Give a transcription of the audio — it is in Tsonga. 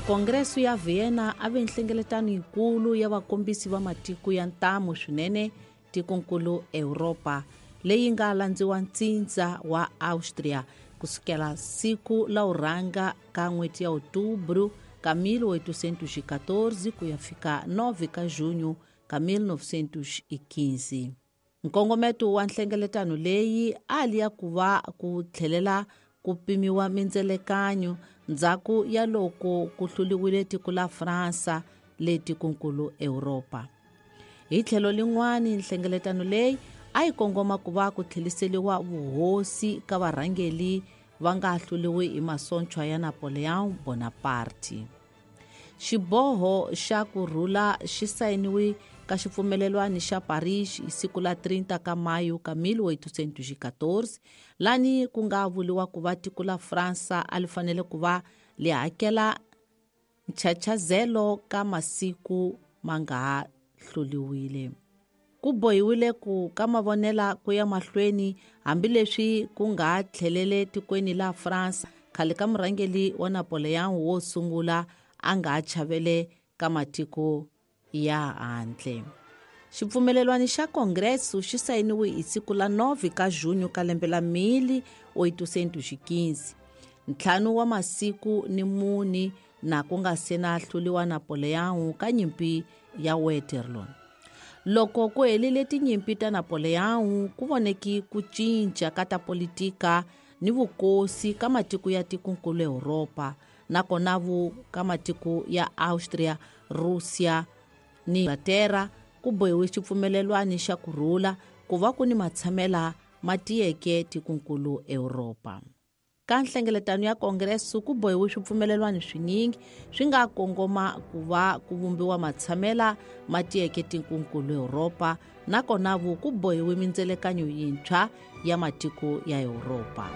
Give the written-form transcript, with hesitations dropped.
Kongreso ya Vienna a ve nhlengeletano yikulu ya vakombisi va matiko ya ntamu swinene tikonkulu Europa leyi nga landziwa ntsindza wa Austria kusukela siku la u rhanga ka n'hweti ya Outubro ka 1814 ku ya fika 9 ka junho ka 1915. Nkongometo wa nhlengeletano leyi a li ya ku va ku tlhelela ku pimiwa mindzelekanyo ndzhaku ya loko ku hluliwile tiko la Fransa le tikonkulu Europa. Hi tlhelo lin'wani nhlengeletano leyi a yi kongoma ku va ku tlheliseliwa vuhosi ka varhangeli va nga hluliwi hi masontshwa ya Napoleon Bonaparte. Xiboho xa ku rhula xi sayiniwe ka xipfumelelwani xa Paris hi siku la 30 ka Mayo ka 1814, lani ku nga vuliwa ku va tiko la Fransa a li fanele ku va li hakela nchachazelo ka masiku ma nga ha hluliwile. Ku bohiwile ku ka mavonela ku ya mahlweni hambileswi ku nga tlhelele tikweni la France khale ka murhangeli wa Napoleon wo sungula a nga chavele ka matiko ya handle. Xipfumelelwani xa Kongreso xi sayiniwe hi siku la 9 ka junho ka lembe la 1815, ntlhanu wa masiku ni muni na ku nga se na hluliwa Napoleon ka nyimpi ya Waterloo. Loko ku helile tinyimpi ta Napoleon, ku voneki ku cinca ka ta politika ni vukosi ka matiko ya tikonkulu Europa, nakona vu ka matiko ya Austria, Russia ni Inglaterra ku bohiwe xipfumelelwani xa ku rhula ku va ku ni matshamela ma tiyeke tikonkulu Europa. Ka nhlengeletano ya Kongreso ku bohiwe swipfumelelwani swinyingi swi nga kongoma ku va ku vumbiwa matshamela ma tiyeke tikonkulu Europa, nakona vu ku bohiwe mindzelekanyo yintshwa ya matiko ya Europa.